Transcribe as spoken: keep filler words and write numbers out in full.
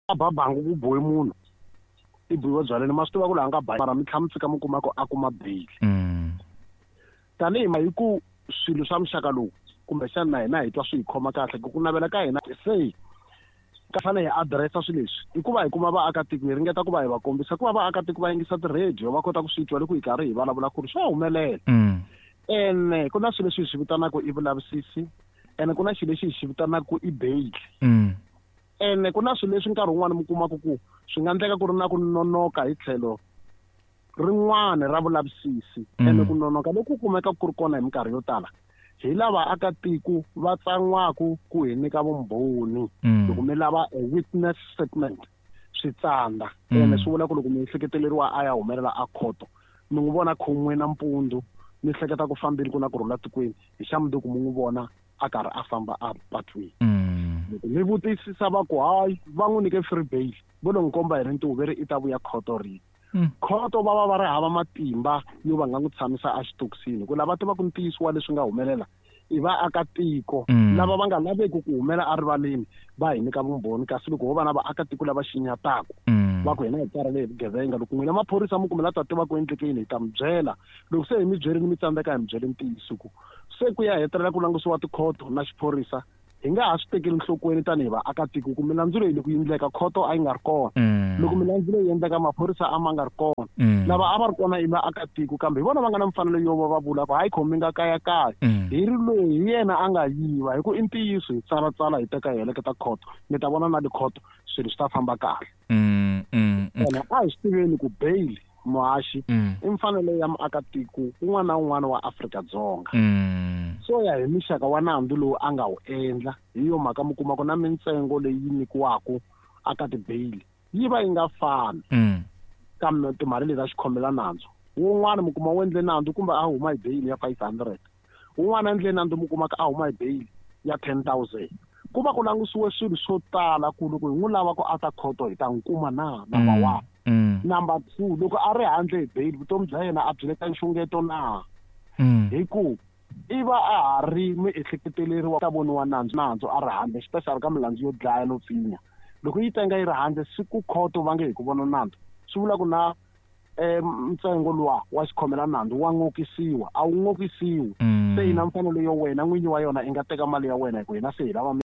Ba bangi ku bohe munhu i biwa byaleni, ma swi tiva ku laha nga ba, mara mi tlhela mi fika mi kuma ku a kuma bail. Tanihi ma hi ku swilo swa muxaka lowu kumbexana na hina hi twa swi hi khoma kahle ku ku navela ka hina se ka fanele hi adiresa swilo leswi i ku va hi kuma vaakatiko, hi ringeta ku va hi va kombisa ku va vaakatiko va yingisa ti-radio va kota ku swi twa loko hi karhi hi vulavula ku ri swa humelela. Ene ku na swilo leswi hi swi vitanaka i vulavisisi, ene ku na xilo lexi hi xi vitanaka i bail. Ene ku na swilo leswi nkarhi wun'wani mi kumaka ku swi nga endleka ku ri na ku nonoka hi tlhelo rin'wana ra vulavisisi, ene ku nonoka loku kumeka ku ri kona hi minkarhi yo tala hi lava akatiko va tsan'waku ku hi nyika vumbhoni. Loko mi lava a witness statement swi tsandza, ene swi vula ku loko mi ehleketeleriwa a ya humelela a khoto mi n'wi vona khon'we nampundzu mi hleketa ku fambile ku na ku rhula tikweni, hi xa mundzuku mi n'wi vona a karhi a famba a patwini. Loko mi vutisisa va ku hayi va n'wi nyike free bail, vo lo n'wi komba hi rintiho ve ri i ta vuya khoto rini. Khoto va va va ri hava matimba yo va nga n'wi tshamisa exitokisini, hi ku lava tivaka ntiyiso wa leswi nga humelela i vaakatiko lava va nga laveki ku humela erivaleni va hi nyika vumbhoni. Kasi loko ho va na vaakatiko lava xinyataku va ku hina hi karhele hi vugevenga, loko n'wina maphorisa mi kumela ta tiva ku endleke yini hi ta mi byela. Loko se hi mi byerini mi tsandzeka hi mi byele ntiyiso ku se ku ya hetelela ku langutisiwa tikhoto na xiphorisa hi nga ha swi tekeli nhlokweni tanihi vaakatiko ku milandzu leyi loko yi endleka khoto a yi nga ri kona, loko milandzu leyi endleka maphorisa a ma nga ri kona, lava a va ri kona i vaakatiko, kambe hi vona va nga na mfanelo yo va va vula ku hayi khomi nga kayakaya hi ri loyi hi yena a nga yiva, hi ku i ntiyiso hi tsalatsala hi teka hi heleketa khoto, mi ta vona na tikhoto swilo swi ta famba kahle. Ene a hi swi tiveni ku bail muhaxi i mfanelo ya muakatiko un'wana na un'wana wa Afrika-Dzonga. So ya hi mixaka wa nandzu lowu a nga wu endla, hi yo mhaka mi kuma ku na mintsengo leyi nyikiwaka aka ti-bail yi va yi nga fani kambe timali leti ta xikhomela nandzu. Wun'wana mi kuma wu endle nandzu kumbe a huma hi bail ya five hundred, wun'wana a endle nandzu mi kuma a huma hi bail ya ten thousand. Ku va ku langutisiwe swilo swo tala ku loko hi n'wi lava ku a ta khoto hi ta n'wi kuma na, number one. Number two, loko a ri handle hi bail vutomi bya yena a byi le ka nxungeto na, hi ku i va a ha ri miehleketeleriwa ta voniwa nandzu nandzu a ri handle, especially ka milandzu yo dlaya no pfinya. Loko yi tenga yi ri handle siku khoto va nge hi ku vona nandzu, swi vula ku na ntsengo luwa wa xikhomela nandzu wa ngokisiwa, a wu ngokisiwi. Se yi na mfanelo yo wena n'winyi wa yona i nga teka mali ya wena hi ku hina se hi lava